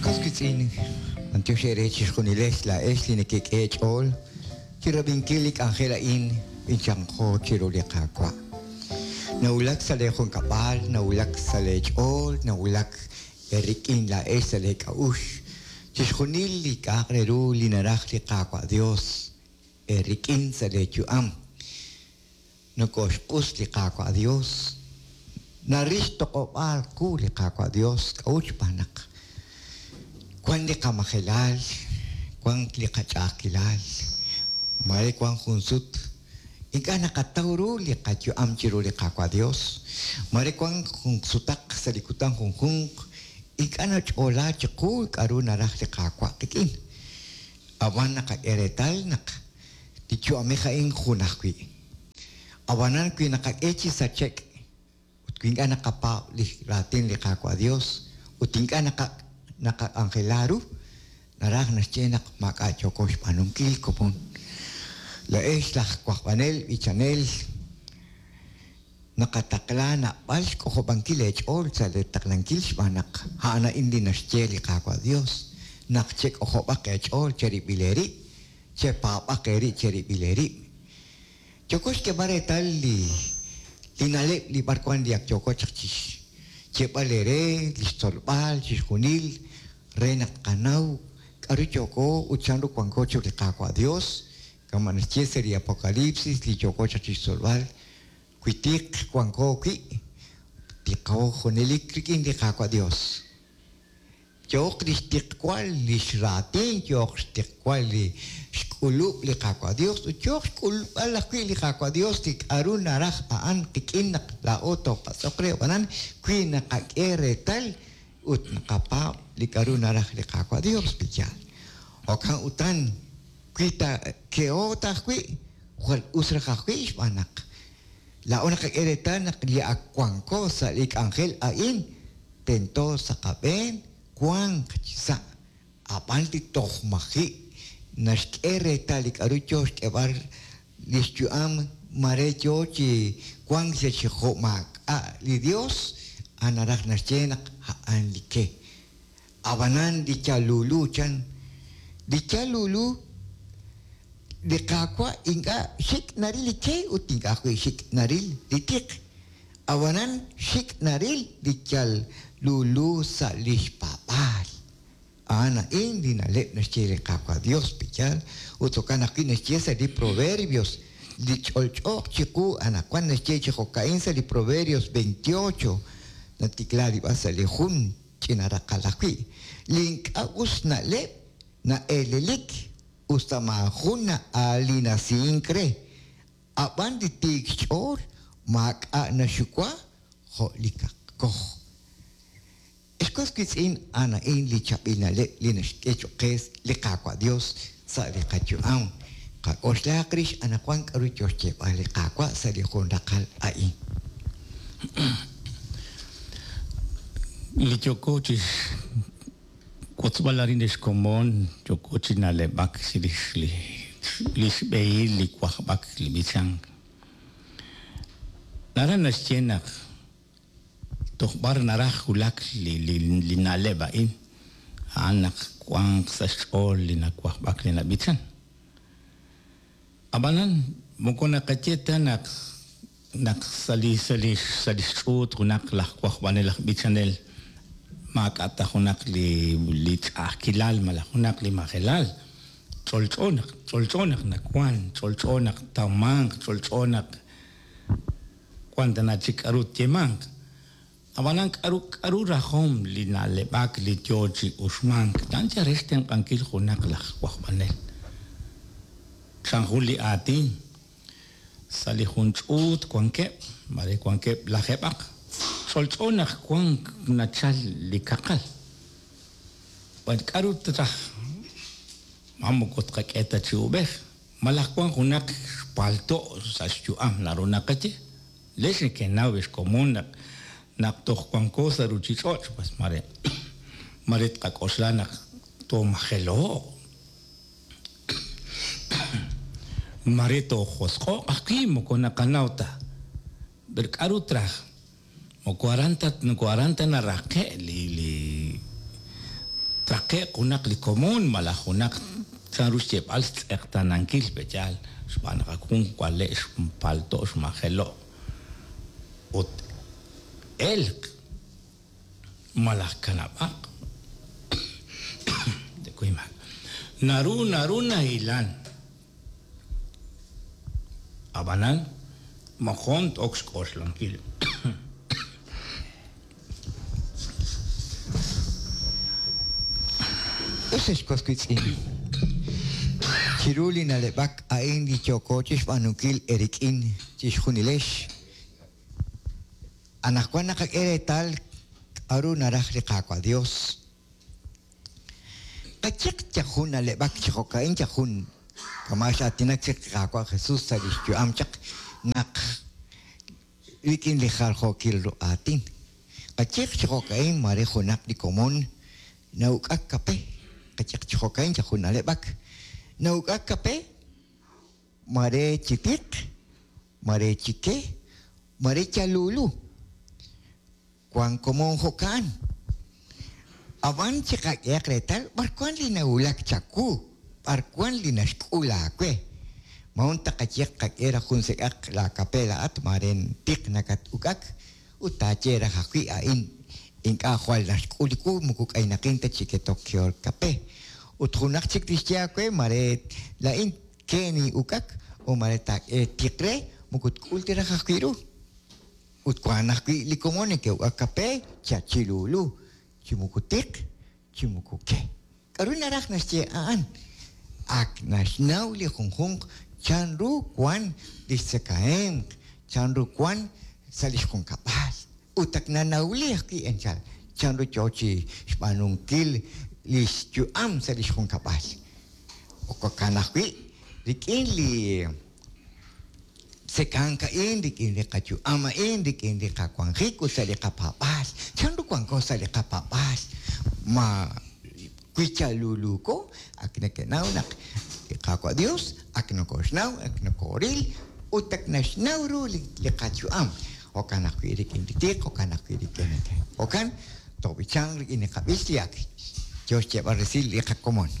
Was wiitz'in, b'antiox eere chixjunilex laa'ex li nekek'e eech'ool chirab'inkil li k'anjel a'in b'inchanqo chiru li Qaawa'. Nawulak sa' lee junkab'al, nawulak sa' lee ch'ool, nawulak eerik'in laa'ex sa' lee k'a'uxl chixjunil li k'a'aq re ru li naraj li Qaawa' Dios eerik'in sa' lee yu'am. Nokoxq'us li Qaawa' Dios, naril xtoq'ob'aal qu li Qaawa' Dios k'a'ut xb'aan naq wan li qamajelal, wan li qach'a'ajkilal, mare wan jun sut ink'a' naqataw ru li qayu'am chiru li Qaawa' Dios, mare wan jun sutaq sa' li kutan junjunq ink'a' nach'oola chiqu k'a'ru naraj li Qaawa' qik'in. Ab'an naqak'e reetal naq li yu'amej a'in jun ajwi'. Ab'anan wi naqak'e chi sache'k ut wi ink'a' naqapaab' li raatin li Qaawa' Dios ut ink'a' naqak'anjela ru, naraj naxye naq maak'a' yooko xb'aanunkil komon. Laa'ex laj wajb'anel b'ichanel naqataqla naab'al xk'ojob'ankil eech'ool sa' lee taqlankil xb'aan naq a'an a'in li naxye li Qaawa' Dios, naq chek'ojob'aq eech'ool cherib'il eerib', chepaab'aq eerib' cherib'il eerib'. Yooko xk'eeb'al reetal li li na'leb' li b'arwan li ak yooko chaq chixyeeb'al eere, li xtzolb'al chixjunil re naq tqanaw k'a'ru yooko ut chanru wanko chiru li Qaawa' Dios, kama' naxye sa' li Apocalipsis li yooko chaq chixtzolb'al, wi tiq wanko wi', tiqo junelik rik'in li Qaawa' Dios. Yooq li xtiqwal li xraatin, yooq xtiqwal li xk'ulub' li Qaawa' Dios, ut yooq xk'ulb'al ajwi' li Qaawa' Dios li k'a'ru naraj a'an qik'in naq laa'o toopatz'oq re. Ab'anan, wi naqak'e reetal ut naqapaab' li k'a'ru naraj li Qaawa' Dios, pe'yaal? Jo'kan utan, wi ta keho ta ajwi', jwal us raj ajwi' xb'aan naq laa'o naqak'e reetal naq li ak wanko sa' li k'anjel a'in, Tento sa' qab'een wanq chi sa', ab'an li toj maji' naxk'e reetal li k'a'ru yoo xk'eeb'al lix yu'am mare yoo chi wank sa' chi jo' maak'a' li Dios, a'an naraj naxye naq a'an li ke. Ab'anan li yal lulu chan, li yal lulu, li Qaawa' ink'a' xik' naril li ke ut ink'a' ajwi' xik' naril li tiq. Ab'anan xik' naril li yal lulu sa' li xpaab'aal. A'an a'in li na'leb' naxye li Qaawa' Dios, pe'yaal? Ut jo'kan ajwi' naxye sa' li Proverbios, li ch'olch'ooq chiqu anaqwan naxye chi jo'ka'in sa' li Proverbios 28, natikla li b'ar sa' li jun ch'ina raqal ajwi', Li ink'a' us na'leb' na'eelelik, us ta maajun na'aalinasink re. Ab'an li tiik xch'ool maak'a' naxxuwa jo' li kaqkoj. Ex was wiitz'in, a'an a'in li chaab'il na'leb' li naxk'e cho'q qe li Qaawa' Yos sa' li qayu'am. Qak'oxlahaq rix anaqwan k'aru yo xyeeb'al li Qaawa' sa' li jun raqal a'in. Li yooko chi xwotzb'al arin ex komon, yooko chi na'leb'ak chirix li li xb'ehil li wajb'ak li b'ichank. Naraj naxye naq toj b'ar naraj wulak li li li na'leb' a'in, a'an naq wanq sa' xch'ool li nawajb'ak li nab'ichan. Ab'anan moko naqaye ta naq naq sa' li sa' li sa' li xch'uut junaq laj wajb'anel aj b'ichanel maak'a' ta junaq li li ch'a'ajkilal malaj junaq li majelal, ch'olch'o naq ch'olch'o naq nawank, ch'olch'o naq ttawmanq, ch'olch'o naq wank tana chik k'aru tyeemanq. Ab'anan k'aru k'aru rajom li na'leb'ak li yo chi uxmank? A'an yal re xtenq'ankil junaq laj wajb'anel. Chan jun li aatin, Sa' li jun ch'uut wankeb', mare wankeb' lajeeb'aq, ch'olch'o naq wank nachal li kaqal. Ab'an k'aru traj? Ma moko tqak'e ta chi uub'ej? Malaj wank junaq xpalto' sa' xyu'am naru naqaye? Leex nekenaw ex komon naq naq toj wanko sa' ruuchich'och' pues mare mare tqak'oxla naq toomajelo'q. Mare toojosq'o'q ajwi' moko naqanaw ta. Pero k'aru traj? Moko aran ta moko aran ta naraqe' li li. Traqe'q junaq li komon malaj junaq chanru xyeeb'al xtz'eqtaanankil pe'yaal xb'aan naq ak jun wale' xpalto' xmajelo' ut elq malaj kanab'aq naru naru nahilan ab'anan moqon t-ok xk'oxlankil. Us ex was wiitz'in, chiru li na'leb'ak a'in li yooko chixb'aanunkil eerik'in chixjunilex, anaqwan naqak'e reetal k'a'ru naraj li Qaawa' Dios. Qayehaq yal jun na'leb'ak chi jo'ka'in yal jun kama' x'aatinak chik li Qaawa' Jesus sa' lix yu'am chaq naq rik'in li jaljookil ru aatin. Qayehaq chi jo'ka'in maare junaq li komon na'uk'ak kape, qayehaq chi jo'ka'in yal jun na'leb'ak, na'uk'ak kape maare chi tiq, maare chi ke, maare yal lulu. Wank komon jo'kan. Ab'an chiqak'ehaq reetal b'ar wank li nawulak chawu, b'ar wank li naxk'ul aawe. Moqon taqaye qak'e raj jun sek'aq laakape laa'at maare tiq nakat-uk'ak ut taaye raj ajwi' a'in ink'a' jwal naxk'ul li wu moko k'aynaqin ta chi ketok kehol kape. Ut junaq chik tixye aawe maare laa'in ke nin'uk'ak o maare taak'e tiq re moko tk'ul ta raj ajwi' ru. Ut wank ajwi' li komon neke'uk'ak kape chachilulu, chi moko tiq, chi moko ke. K'aru naraj naxye a'an? Ak naxnaw li junjunq chanru wank li xtzakahemq, chanru wank sa' li xjunkab'al. Ut ak nanawli ajwi' anchal chanru yo chi xb'aanunkil li xyu'am sa' li xjunkab'al. Jo'kan ajwi' rik'in li tzekank a'in, rik'in li qayu'am a'in, rik'in li qawanjik ut sa' li qapaab'aal. Chanru wanko sa' li qapaab'aal? Ma wi yaluluuko, ak nekenaw naq li Qaawa' Dios ak nokoxnaw, ak nokoril ut ak naxnaw ru li qayu'am. Jo'kan ajwi' rik'in li tiq, jo'kan ajwi' rik'in li ke. Jo'kan, toob'ichanq rik'in li qab'ich li ak yo xyeeb'al resil li qakomon.